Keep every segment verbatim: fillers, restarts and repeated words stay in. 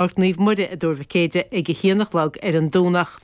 Páirc Naomh Muire i dTuar Mhic Éide ag a haon a chlog ar an Domhnach.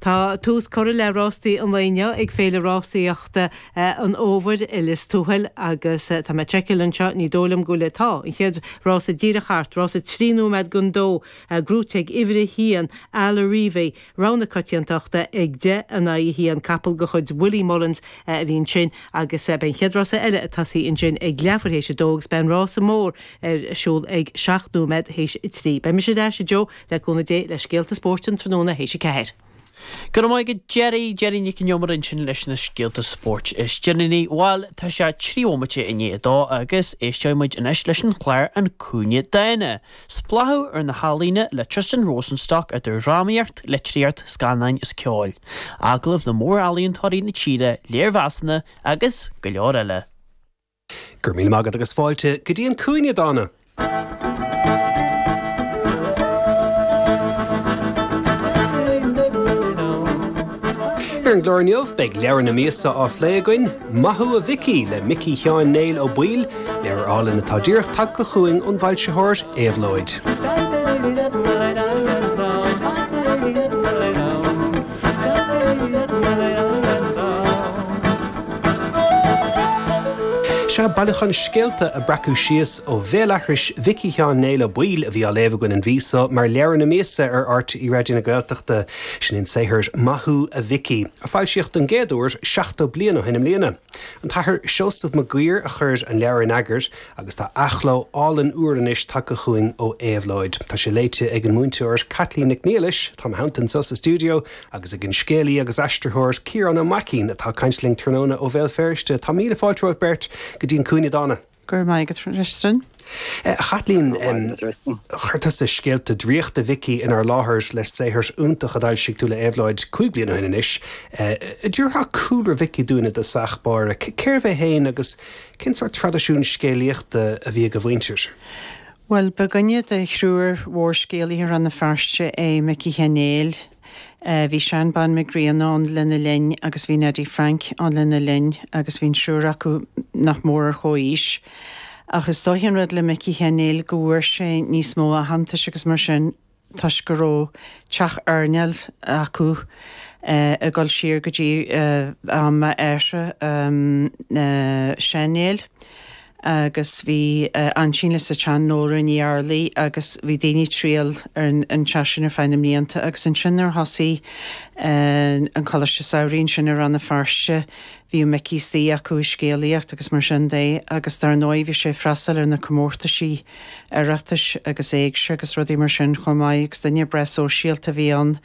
Tá tús curtha le rástaí an lae inniu ag Féile Rásaíochta an Fhómhair i Lios Tuathail agus tá mé ag seiceáil anseo, ní dóigh liom go bhfuil, tá, an chéad rása díreach thart, rása trí nóiméad don dó, gnóthaithe ag uimhir a haon, Alarivi, rogha na coitiantachta ag deich in aghaidh a haon, capall de chuid Willie Mullins a bhí ansin agus beidh an chéad rása eile ag tosaí ansin ag leathuair théis a dó agus beidh an rása mór ar siúl ag seacht nóiméad théis a trí. Beidh mise ar ais, a Joe, le cúnamh Dé, le scéalta spóirt an tráthnóna théis a ceathair. Go raibh maith agat Gerry, Gerry Nic an Iomaire ansin leis na scéalta spóirt is deireanaí. Bhuel, tá sé trí bhomaite i ndiaidh a dó agus éisteoidh muid anois leis an chlár An Cúinne Dána. Spléachadh ar na healaíona le Tristan Rosenstock idir dhrámaíocht, litríocht, scannáin is ceol. Agallaimh le mór-ealaíontóirí na tíre, léirmheasanna agus go leor eile. Go raibh míle maith agat agus fáilte go dtí an Cúinne Dána! Ar an gclár inniu beidh leabhar na míosa á phlé againn, Maith Thú a Mhicí le Micí Sheáin Néill Ó Baoill, leabhar álainn atá díreach tagtha chugainn ón bhfoilsitheoir Éabhlóid. Sea, bailiúchán scéalta a breacadh síos ó bhéalaithris Mhicí Sheáin Néill Ó Baoill a bhí á léamh againn an mhí seo mar leabhar na míosa ar RTÉ Raidió na Gaeltachta. Sin é an saothar Maith Thú a Mhicí, a foilsíodh don gcéad uair seachtó bliain ó shin i mbliana. An tAthair Seosamh Mac Guidhir a chuir an leabhar in eagar agus tá athchló álainn úr anois tagtha chugainn ó Éabhlóid. Tá sé léite ag an múinteoir Caitlín Nic Niallais, atá i mo theannta anseo sa stiúideo, agus ag an scéalaí agus aistritheoir Ciarán Ó Maicín atá ag caint linn tráthnóna ó Bhéal Feirste. Tá míle fáilte romhaibh beirt go dtí an Cúinne Dána. Go raibh maith agat, Tristan. A Chaitlín, chuir tusa scéalta draíochta Mhicí inár láthair le saothar iontach a d'fhoilsigh tú le Éabhlóid cúig bliana ó shin anois. An dtabharfá cúlra Mhicí dúinn i dtosach báire. Cérbh é féin agus cén sórt traidisiún scéalaíochta a bhí ag a mhuintir? Bhuel, ba dhuine de thriúr mhórscéalaithe Rann na Feirste é Micí Sheáin Néill. Bhí Seán Bán Mac Grianna ann lena linn agus bhí Neidí Frainc ann lena linn agus bhí an triúr acu nach mór ar chomhaois. Ach is dóiche an rud le Micí Sheáin Néill go bhfuair sé níos mó aitheantais agus mar sin toisc go raibh teach airneáil acu ag dul siar go dtí am a athar, Seán Néill. Agus bhí aintín leis an tsean Nóra Ní Fhearraigh agus bhí daoine ag triall ar an teach sin ar feadh na mblianta agus ansin nuair a thosaigh an Coláiste Samhraidh ansin i Rann na Feirste bhíodh Micí istigh acu ag scéalaíocht agus mar sin de agus dar ndóigh bhí sé ag freastal ar na comórtaisí Oireachtais agus Éigse agus rudaí mar sin chomh maith agus duine breá sóisialta a bhí ann.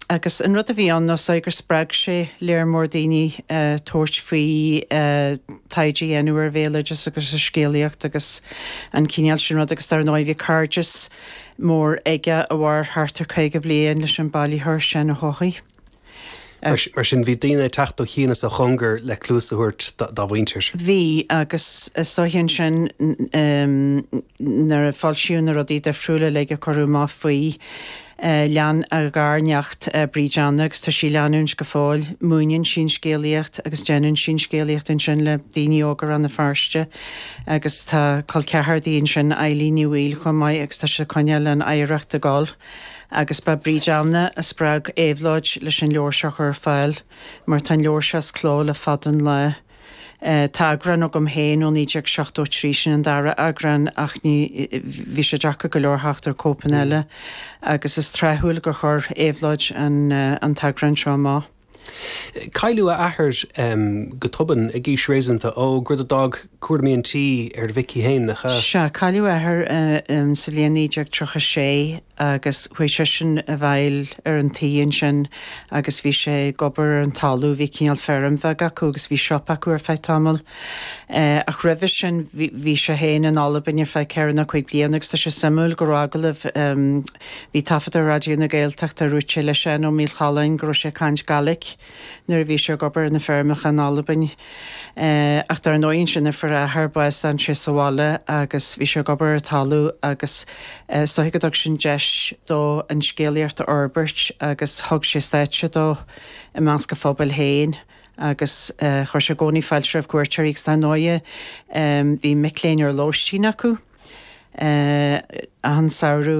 Agus an rud a bhí ann ná is dóigh gur spreag sé léar mór daoine tabhairt faoi taighde a dhéanamh ar bhéaloideas agus ar scéalaíocht agus an cineál sin rud agus dar ndóigh bhí cairdeas mór aige a mhair thart ar caoga bliain leis an bailitheoir Seán Ó hEochaidh. Mar sin, bhí daoine ag teacht ó chian is ó chóngar le cluas a thabhairt dá mhuintir. Bhí, agus is dóiche ansin nuair a foilsíodh na rudaí difriúla uilig a cuireadh amach faoi, lean a gharneacht Bríd Anna agus tá sí ag leanúint go fóill. Múineann sí an scéalaíocht agus déanann sí an scéalaíocht ansin le daoine óga Rann na Feirste agus tá col ceathar di ansin, Eilín Ní Bhaoill chomh maith agus tá siad ag coinneáil an oidhreacht ag dul. Agus ba Bríd Anna a spreag Éabhlóid leis an leabhar seo a chur ar fáil, mar tá an leabhar seo as cló le fada an lá. Tá eagrán agam féin ó naoi déag seachtó trí, sin an dara eagrán, ach ní, bhí sé deacair go leor theacht ar cóipeanna eile, agus is tráthúil gur chuir Éabhlóid an an t-eagrán seo amach. Cailleadh a athair go tobann ag aois réasúnta óg, rud a d'fhág cúraimí an tí ar Mhicí féin, nach ea? Sea, cailleadh a athair sa bhliain naoi déag tríocha sé agus chuaigh seisean i bhfeighil ar an tí ansin agus bhí sé ag obair ar an talamh, bhí cineál feirm bheag acu agus bhí siopa acu ar feadh tamaill. Ach roimhe sin bhí sé féin in Albain ar feadh ceithre nó cúig bliana agus tá sé suimiúil go raibh agallamh, Bhí taifead ar Raidió na Gaeltachta a dúirt sé le Seán Ó Maolchalláin go raibh sé ag caint Gaelic nuair a bhí sé ag obair ar na feirmeacha in Albain. Ach dar ndóigh ansin nuair a fuair a athair bás d'fhan sé sa bhaile agus bhí sé ag obair ar an talamh agus is dóiche go dtug sin deis dó an scéalaíocht a fhorbairt agus thug sé stáitse dó i measc a phobail féin agus chuir sé i gcónaí fáilte roimh cuairteoirí agus dar ndóighe bhí mic léinn ar lóistín acu. Achan samhradh.